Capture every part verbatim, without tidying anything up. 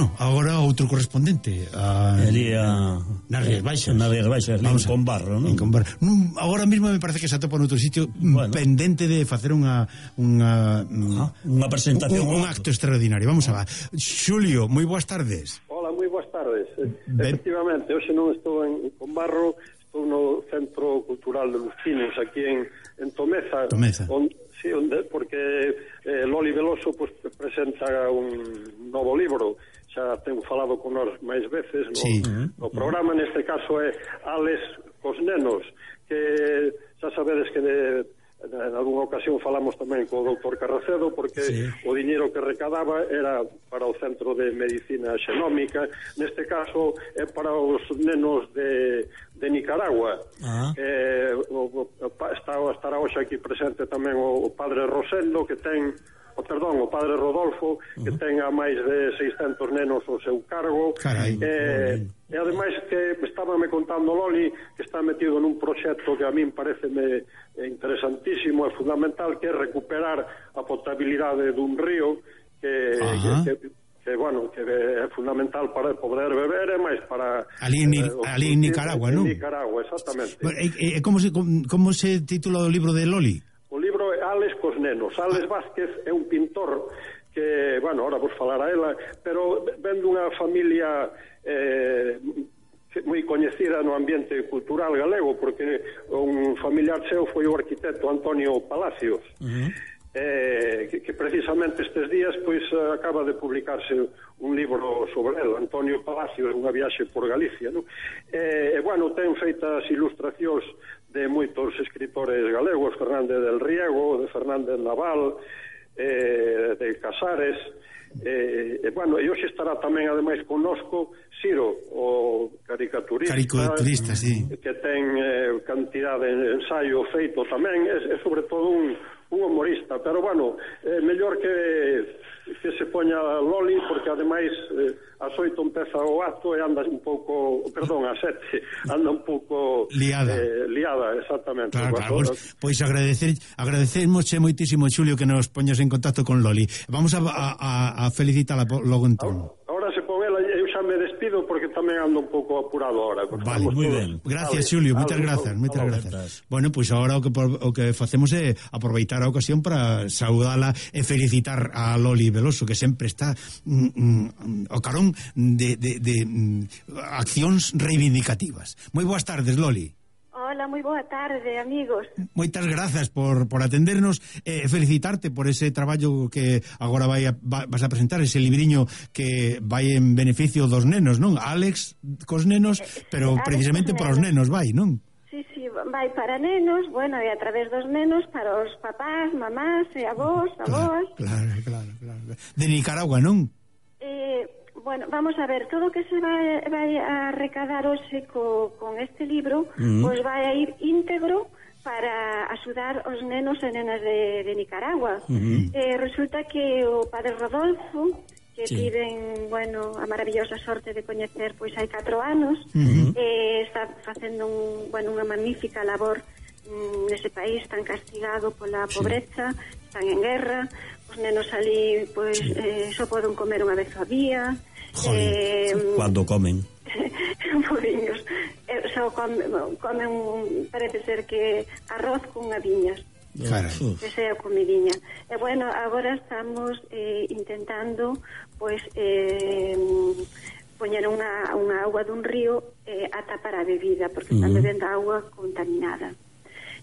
Bueno, agora outro correspondente a... Elía... nas Rías Baixas. Nas Rías Baixas, en Combarro, non? En Combarro. Agora mesmo me parece que se atopa noutro sitio bueno. pendente de facer unha unha ah, unha presentación, un, un acto extraordinario. Vamos a ver. Xulio, moi boas tardes. Hola, moi boas tardes. Ben. Efectivamente, hoxe non estou en Combarro, estou no Centro Cultural de Lustinos, aquí en, en Tomeza. Tomeza. Onde, sí, onde, porque eh, Loli Veloso pues, presenta un novo libro. Xa tengo falado con nós máis veces no, sí. no programa, neste caso é Ales cos nenos, que xa sabedes que de, en algunha ocasión falamos tamén co doutor Carracedo, porque sí. o diñeiro que recadaba era para o Centro de Medicina Xenómica, neste caso é para os nenos de, de Nicaragua. Ah. eh, o, o, está, estará hoxe aquí presente tamén o, o padre Rosendo, que ten o perdón, o padre Rodolfo, uh-huh. que ten a máis de seiscentos nenos ao seu cargo. Carai, eh, e ademais que estaba me contando Loli que está metido nun proxecto que a min pareceme interesantísimo e fundamental, que é recuperar a potabilidade dun río que, uh-huh. que, que que, bueno, que é fundamental para poder beber e máis para... Ali en, eh, ali en Nicaragua, non? En Nicaragua, exactamente. Bueno, e, e, como, se, como se titula o libro de Loli? O libro é Ales cos nenos. Ales Vázquez é un pintor que, bueno, ahora vos falar a ela, pero ven dunha familia eh, moi coñecida no ambiente cultural galego, porque un familiar seu foi o arquitecto Antonio Palacios. Uh-huh. Eh, que, que precisamente estes días pois acaba de publicarse un libro sobre el, Antonio Palacios, unha viaxe por Galicia, non? E, eh, bueno, ten feitas ilustracións de moitos escritores galegos, Fernández del Riego, de Fernández Naval, eh, de Casares, eh, e, bueno, e hoxe estará tamén ademais connosco Ciro, o caricaturista, caricaturista sí. que ten eh, cantidad de ensaio feito tamén, é, é sobre todo un, un humorista, pero bueno, é mellor que que se poña Loli, porque ademais eh, as oito empeza o acto e anda un pouco, perdón, a sete anda un pouco liada, eh, liada exactamente. Claro, claro, pois, pois agradecer agradecermosche moitísimo, Xulio, que nos poñas en contacto con Loli. Vamos a, a, a felicitala logo entón. Ahora, ahora se pon ela, eu xa me despido porque tamén ando un pouco apurado ahora. Vale, moi ben. Gracias, Xulio, moitas grazas, moitas grazas. Bueno, pois agora o que o que facemos é aproveitar a ocasión para saudala e felicitar a Loli Veloso, que sempre está mm, mm, ao carón de, de, de mm, accións reivindicativas. Moi boas tardes, Loli. Hola, moi boa tarde, amigos. Moitas grazas por, por atendernos e eh, felicitarte por ese traballo que agora vai a, va, vas a presentar, ese libriño que vai en beneficio dos nenos, non? Alex cos nenos, pero eh, precisamente para os nenos vai, non? Sí, sí, vai para nenos, bueno, e a través dos nenos para os papás, mamás e avós, avós. Claro, claro, claro, claro. De Nicaragua, non? Eh... Bueno, vamos a ver, todo o que se vai, vai a recadar hoxe co, con este libro, uh-huh. pois vai a ir íntegro para axudar os nenos e nenas de, de Nicaragua. Uh-huh. Eh, resulta que o padre Rodolfo, que sí. tiven, bueno, a maravillosa sorte de coñecer pois hai catro anos, uh-huh. eh, está facendo un, bueno, unha magnífica labor mm, nese país tan castigado pola pobreza, sí. están en guerra, os nenos ali pois sí. eh, só poden comer unha vez ao día. Joder, eh, cando comen Moriños eh, só comen, comen parece ser que arroz con aviñas. Carai. Que sea comidiña. E bueno, agora estamos eh, intentando pois eh, poñer unha, unha auga dun río eh, ata para a bebida, porque están uh-huh. bebendo auga contaminada.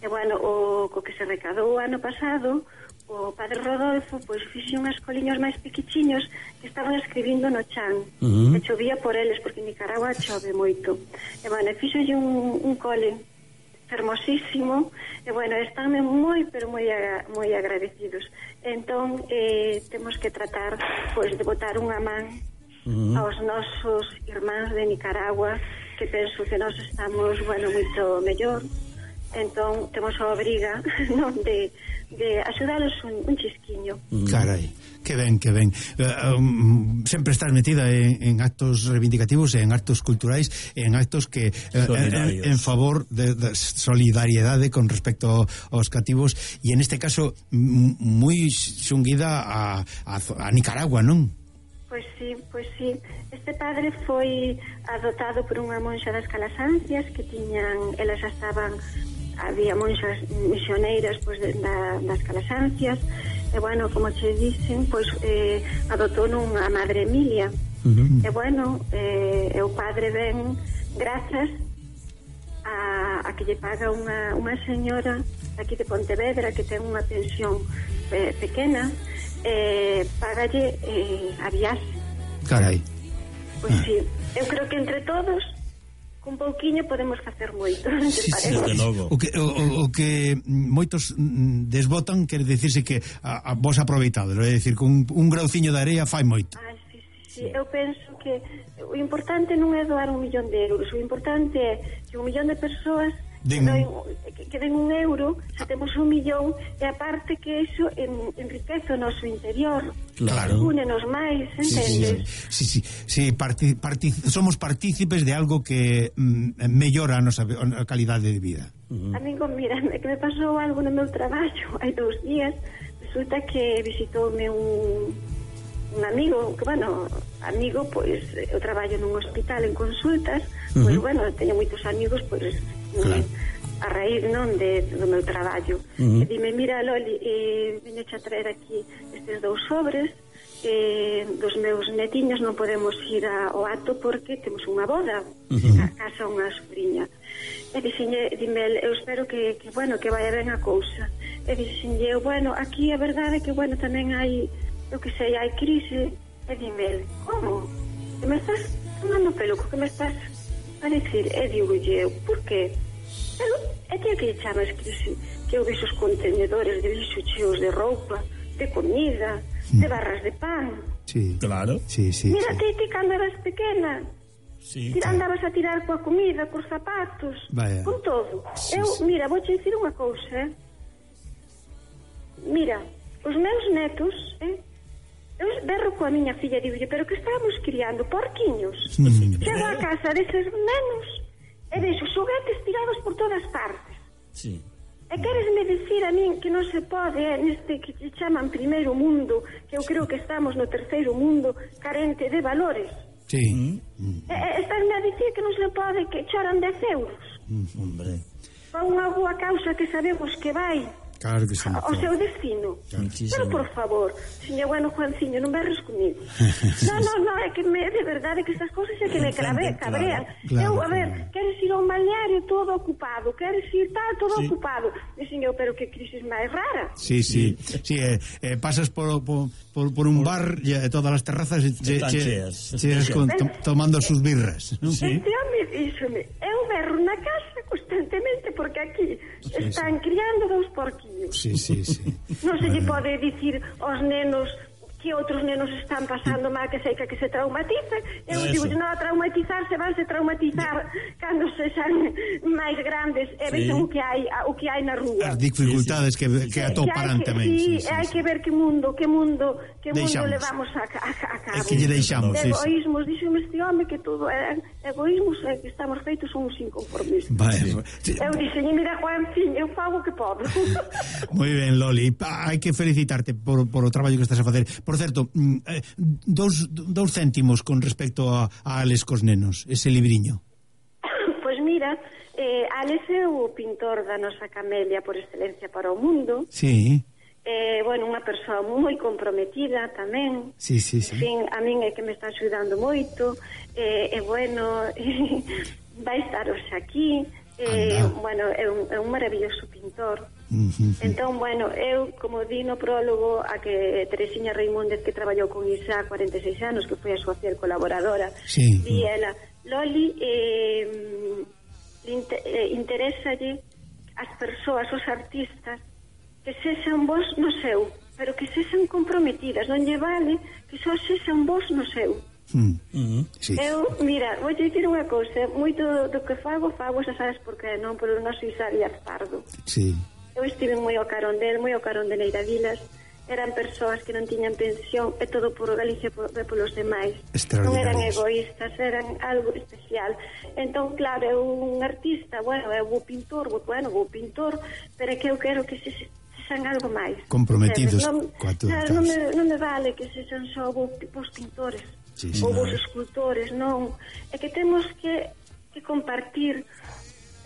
E bueno, o co que se recadou o ano pasado, o padre Rodolfo pois fixe unhas coliños máis pequichiños que estaban escribindo no chan, uh-huh. e chovía por eles, porque en Nicaragua chove moito. E bueno, fixolle un, un cole fermosísimo, e bueno, están moi, pero moi, moi agradecidos. Entón, eh, temos que tratar pois de botar unha man uh-huh. aos nosos irmáns de Nicaragua, que penso que nós estamos, bueno, moito mellor. Entón, temos a obriga, non, de, de axudalos un, un chisquiño. Carai, que ben, que ben. Uh, um, sempre estás metida en, en actos reivindicativos, en actos culturais, en actos que uh, en, en favor de, de solidariedade con respecto aos cativos, e en este caso moi xunguida a, a, a Nicaragua, non? Pois sí, pois sí. Este padre foi adoptado por unha monxa das Calasancias que tiñan, elas xa estaban, había monxas misioneiras pois, de, da, das Calasancias, e bueno, como che dicen, pois eh, adotou nunha madre Emilia. Uh-huh. E bueno, eh, e o padre ven grazas a, a que lle paga unha, unha señora aquí de Pontevedra que ten unha pensión eh, pequena, eh, pagalle eh, a viaxe. Carai. Pois ah. sí, eu creo que entre todos con pouquiño podemos facer moito. Sí, sí, de logo. O que, o, o que moitos desbotan quere dicirse que a, a vos aproveitado, é dicir, con un, un grauciño de areia fai moito. Ah, sí, sí, sí, eu penso que o importante non é doar un millón de euros, o importante é que un millón de persoas Den... que, que den un euro, se temos un millón, e aparte que iso en, enriquece o noso interior, claro, únenos máis, entendes? Sí, sí, sí, sí, parti, parti, somos partícipes de algo que mm, mellora a nosa a calidade de vida. Uh-huh. Amigo, mira, que me pasou algo no meu traballo hai dous días, resulta que visitoume un un amigo, que bueno, amigo, pois, eu traballo nun hospital en consultas, uh-huh. pois, bueno, teño moitos amigos, pois, claro. a raíz, non, de, do meu traballo. Uh-huh. E dime, mira, Loli, eh, veño a traer aquí estes dous sobres, eh, dos meus netiños non podemos ir a, ao acto porque temos unha boda, uh-huh. a casa unha sobrinha. E dixenlle, dime, eu espero que, que, bueno, que vaya ben a cousa. E dixenlle, bueno, aquí a verdade é que, bueno, tamén hai, eu que sei, hai crise. E dime, como? Que me estás tomando pelo, que me estás a decir? E digo eu, por qué? Pero, é que que chamas crise? Que eu vexo os contenedores de lixo cheos de roupa, de comida, de barras de pan. Sí, claro. Sí, sí, mira, sí. ti, ti cando eras pequena, sí, tira, andabas a tirar coa comida, cos zapatos, vaya, con todo. Sí, eu, sí. mira, vou che dicir unha cousa, eh? Mira, os meus netos, eh? Eu berro coa miña filla e digo, pero que estábamos criando porquiños. Mm. Chego a casa deses nenos e vexo xoguetes tirados por todas partes. Sí. E queresme dicir a min que non se pode, eh, neste que se chaman primeiro mundo, que eu creo que estamos no terceiro mundo, carente de valores. Sí. Mm. E, e estásme a dicir que non se pode, que choran dez euros. Mm, hombre. Para unha boa causa que sabemos que vai Claro que sí. O seu destino. Muchísimo. Pero, por favor, señor, bueno, Juanciño, non berres comigo. No, no, no, é que me, de verdade que estas cosas é que me clave, cabrean. Claro, eu, a ver, claro. queres ir ao balneario todo ocupado, queres ir tal, todo sí. ocupado. E, señor, pero que crisis máis rara. Sí, sí, sí, eh, eh, pasas por, por, por, por un bar e eh, todas as terrazas che, che, che, che con, to, tomando sus birras, ¿no? Sí. Este home díxome, eu berro na casa constantemente porque aquí sí, están sí. criando dous porquinhos. Sí, sí, sí. Non se lle pode dicir aos nenos que outros nenos están pasando mal, que sei que, que se traumatizan. Eu digo, non, a traumatizarse, vanse traumatizar cando se xan máis grandes e sí. vexen o que hai o que hai na rúa. As dificultades sí, sí. que, que atoparán que tamén. Sí, sí, sí, hai sí. que ver que mundo, que mundo, que deixamos. mundo levamos a, a, a cabo. É que lle deixamos, de egoísmos, sí, sí. Díxome este home que todo é egoísmos, é que estamos feitos uns inconformistas. Vale. Sí. Eu dixen, mira, Juancín, eu fago que podo. Moi ben, Loli, hai que felicitarte por, por o traballo que estás a facer. Por certo, eh, dous, dous céntimos con respecto a, a Alex cos nenos, ese libriño. Pois mira, eh, Alex é o pintor da nosa Camelia por excelencia para o mundo. Sí. Eh, bueno, unha persoa moi comprometida tamén. Sí, sí, sí. En fin, a min é que me está axudando moito. E eh, eh, bueno, vai estar hoxe aquí. Eh, bueno, é un, é un maravilloso pintor. Uh-huh. Entón, bueno, eu, como di no prólogo, a que Teresiña Reimóndez, que traballou con Isa cuarenta e seis anos, que foi a súa fiel colaboradora, sí. di ela, Loli, eh, inter, eh, interésalle as persoas, os artistas, que sexan vos no seu, pero que sexan comprometidas, non lle vale que só sexan vos no seu. Mm. Mm-hmm. Sí. Eu, mira, vou te dicir unha cousa, moito do que fago, fago, xa sabes por que non, polo noso Isa Díaz Pardo. Sí. Eu estive moi ao carón del, moi ao carón de Neira Vilas, eran persoas que non tiñan pensión, e todo por Galicia e por, polos demais. Non eran egoístas, eran algo especial. Entón, claro, eu un artista, bueno, eu vou pintor, vou, bueno, vou pintor, pero é que eu quero que se, se sexan algo máis. Comprometidos non, coa túa claro, causa. non, me, non me vale que sexan só vos pintores Sí, sí, ou vos claro. escultores, non. É que temos que, que compartir.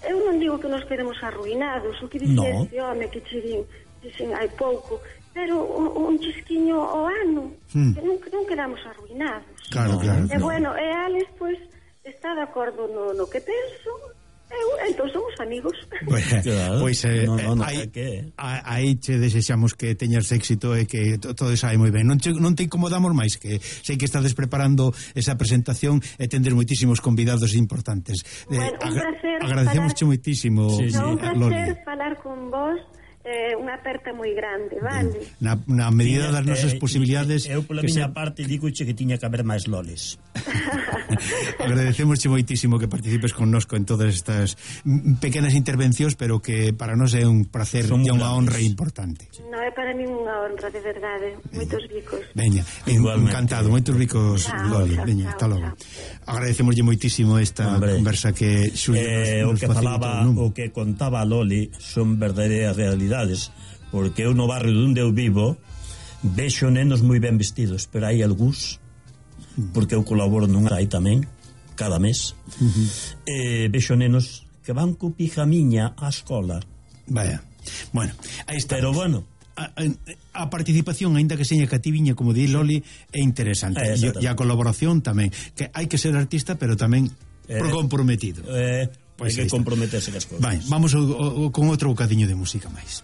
Eu non digo que nos quedemos arruinados, o que dice No. este home que che din, dicen hai pouco, pero un, un chisquiño ao ano, Hmm. que non, non quedamos arruinados. Claro, claro. E bueno, e Alex, pois, está de acordo no, no que penso, eu, entón somos amigos. Pois, Claro. pois eh, No, no, no, aí, é que- aí che desexamos que teñas éxito e que to- todo sae moi ben. Non, che, non te incomodamos máis, que sei que estades preparando esa presentación e tendes moitísimos convidados importantes. Bueno, un placer agradecemos falar- moitísimo, Sí, sí. No, un Loli. placer falar con vos, eh, unha aperta moi grande, vale? Na, na medida Tiña- das nosas eh, posibilidades, Eu, pola que miña se- parte, digo che que tiña que haber máis loles. agradecemos moitísimo que participes connosco en todas estas mm, pequenas intervencións, pero que para nós é un placer Son e unha grandes. honra importante. No, é para mí unha honra, de verdade. Moitos bicos. Veña, en, Igualmente. encantado, moitos ricos, Chao, Loli. chao, Veña, chao, hasta logo. chao. Agradecemoslle moitísimo esta Hombre. conversa que Xulio Eh, nos, o nos que facilitou, falaba, non? o que contaba a Loli son verdadeiras realidades, porque eu no barrio onde eu vivo vexo nenos moi ben vestidos, pero hai algúns, porque eu colaboro nunha aí tamén cada mes, uh-huh. eh, vexo nenos que van co pijamiña á escola. Vaya. Bueno, aí está. Pero bueno, A, a, a participación, aínda que seña cativiña, como di Loli, é interesante. Eh, e, e a colaboración tamén. Que hai que ser artista, pero tamén Eh, comprometido. eh, Pois hai aí que está. comprometerse cas cousas. Vai, vamos o, o, con outro bocadiño de música máis.